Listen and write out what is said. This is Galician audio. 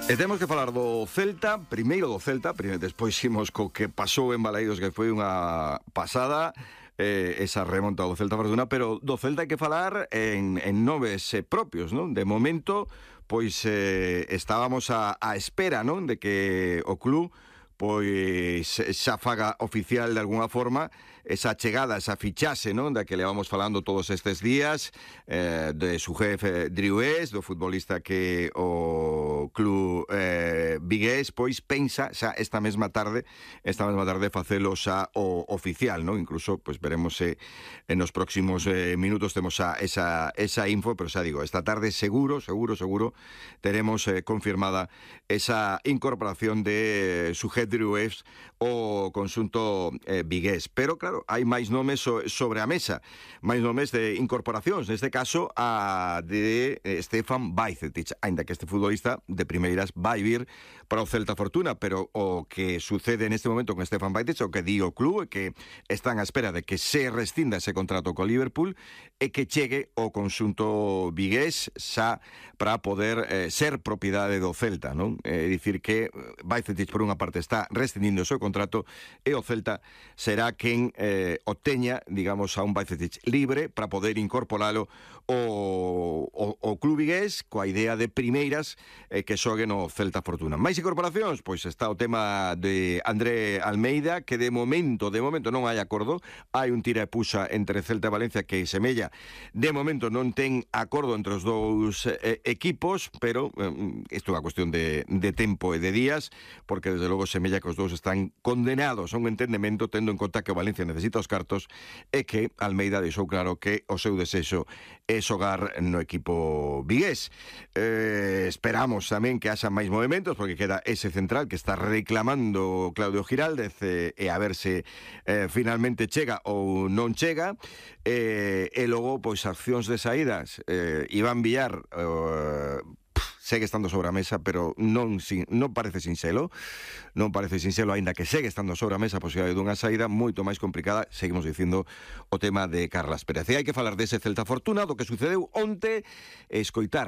E temos que falar do Celta, primeiro do Celta, despois imos co que pasou en Balaídos, que foi unha pasada, esa remonta do Celta Fortuna, pero do Celta hai que falar en nomes propios, non? De momento, pois estábamos a espera, non? De que o club pois xa faga oficial de alguna forma esa chegada, esa fichase, non? Da que levamos falando todos estes días, de su jefe Drioués, do futbolista que o club vigués pois pensa xa esta mesma tarde facelo xa o oficial, non? Incluso pois veremos se en os próximos minutos temos xa esa info, pero xa digo, esta tarde seguro teremos confirmada esa incorporación de su jefe Drioués o conxunto vigués. Pero claro, hai máis nomes sobre a mesa, máis nomes de incorporacións, neste caso a de Stefan Bajcetic, aínda que este futbolista de primeiras vai vir para o Celta Fortuna, pero o que sucede neste momento con Stefan Bajcetic, o que di o club, é que están á espera de que se rescinda ese contrato co Liverpool e que chegue o conxunto vigués xa para poder ser propiedade do Celta, non? É dicir que Bajcetic por unha parte está rescindindo o seu contrato e o Celta será quen obteña, digamos, a un Bajcetic libre para poder incorporalo o club vigués coa idea de primeiras que xogue no Celta Fortuna. Máis incorporacións? Pois está o tema de André Almeida, que de momento non hai acordo, hai un tira e puxa entre Celta e Valencia que semella, de momento non ten acordo entre os dous equipos, pero isto é unha cuestión de tempo e de días, porque desde logo semella que os dous están condenados a un entendemento, tendo en conta que o Valencia necesita os cartos e que Almeida deixou claro que o seu desexo é xogar no equipo vigués. Esperamos tamén que haxa máis movimentos, porque queda ese central que está reclamando Claudio Giraldez, e a ver se finalmente chega ou non chega, e logo pois accións de saídas. Iván Villar segue estando sobre a mesa, pero non parece sinxelo, aínda que segue estando sobre a mesa a posibilidade dunha saída moito máis complicada. Seguimos dicindo o tema de Carlas Pérez. E hai que falar dese Celta Fortuna, do que sucedeu onte, escoitar